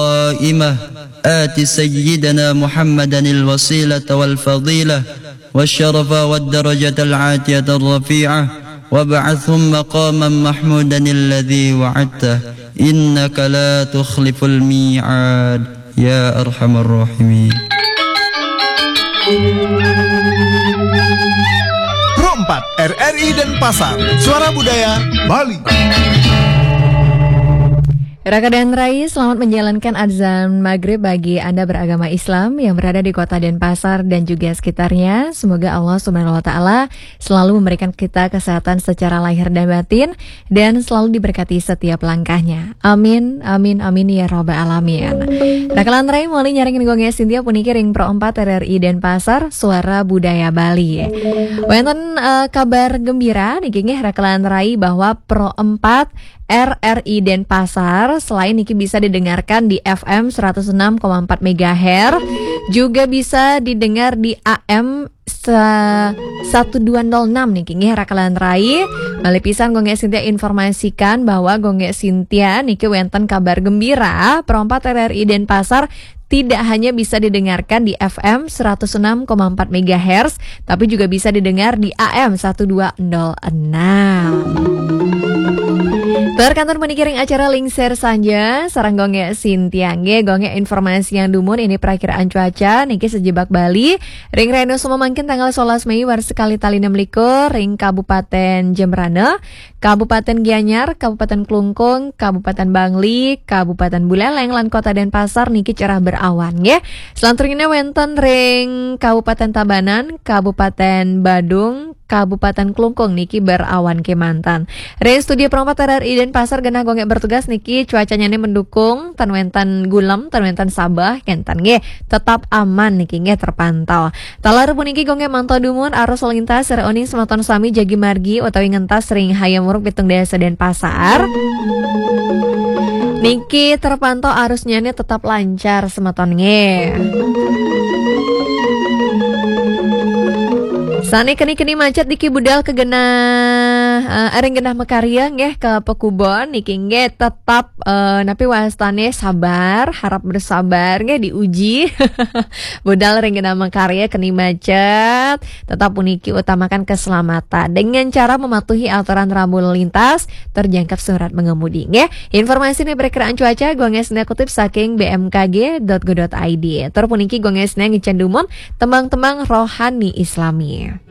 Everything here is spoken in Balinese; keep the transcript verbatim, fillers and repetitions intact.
القائمة آت سيدنا محمدا الوسيلة والفضيلة والشرف والدرجة العاتية الرفيعة وابعثه مقاما محمودا الذي وعدته إنك لا تخلف الميعاد يا أرحم الراحمين. Pro empat, R R I Denpasar, Suara Budaya Bali. Raka dan Rai, selamat menjalankan azan maghrib bagi Anda beragama Islam yang berada di kota Denpasar dan juga sekitarnya. Semoga Allah Subhanahu wa Ta'ala selalu memberikan kita kesehatan secara lahir dan batin dan selalu diberkati setiap langkahnya. Amin, amin, amin ya rabbal alamin. Raka lan Rai, mauliu nyarengin Gung Gé Sintia puniki ring Pro empat R R I Denpasar, Suara Budaya Bali. Wénten eh, kabar gembira niki nggih Raka lan Rai bahwa Pro empat R R I Denpasar selain niki bisa didengarkan di F M seratus enam koma empat megahertz, juga bisa didengar di A M se- satu dua nol enam niki nggih Raka lan Rai. Malih pisan Gung Gé Sintia informasikan bahwa Gung Gé Sintia niki wénten kabar gembira, Pro empat R R I Denpasar tidak hanya bisa didengarkan di F M seratus enam koma empat megahertz, tapi juga bisa didengar di A M satu dua nol enam. Tur kantun puniki ring acara Lingsir Sanja sareng Gung Gé Sintia nggih. Gung Gé informasian dumun ini perakiraan cuaca niki sejebak Bali ring rena semangkin tanggal sebelas Mei warsa kalih tali enam likur ring Kabupaten Jembrana, Kabupaten Gianyar, Kabupaten Klungkung, Kabupaten Bangli, Kabupaten Buleleng lan Kota Denpasar niki cerah berawan nggih. Selanturnya wénten ring Kabupaten Tabanan, Kabupaten Badung, Kabupaten Klungkung niki berawan kemanten. Ring studio Pro empat R R I Denpasar genah Gung Gé bertugas niki cuacanya ini mendukung, tan wénten gulem, tan wénten sabeh, kénten nggih. Tetap aman niki nggih terpantau. Taler puniki Gung Gé mantau dumun arus lalu lintas ring oning semeton sami jagi margi utawi ngentas ring Hayam Wuruk pitung dasa Denpasar. Niki terpantau arusnya ini tetap lancar semeton nggih. Sané keni-keni macet niki budal ka genah eh, ring genah makarya nggih ka Pekubon niki nggih tetap eh, napi wastane sabar, harap bersabar nggih diuji. Budal ring genah makarya keni macet, tetap puniki utamakan keselamatan dengan cara mematuhi aturan rambu lalu lintas, terjangkep surat mengemudi nggih. Informasi ini berkiraan cuaca Gung Gé Sintia kutip saking B M K G dot go dot I D. Tur puniki Gung Gé Sintia ngicen dumun tembang-tembang rohani Islami.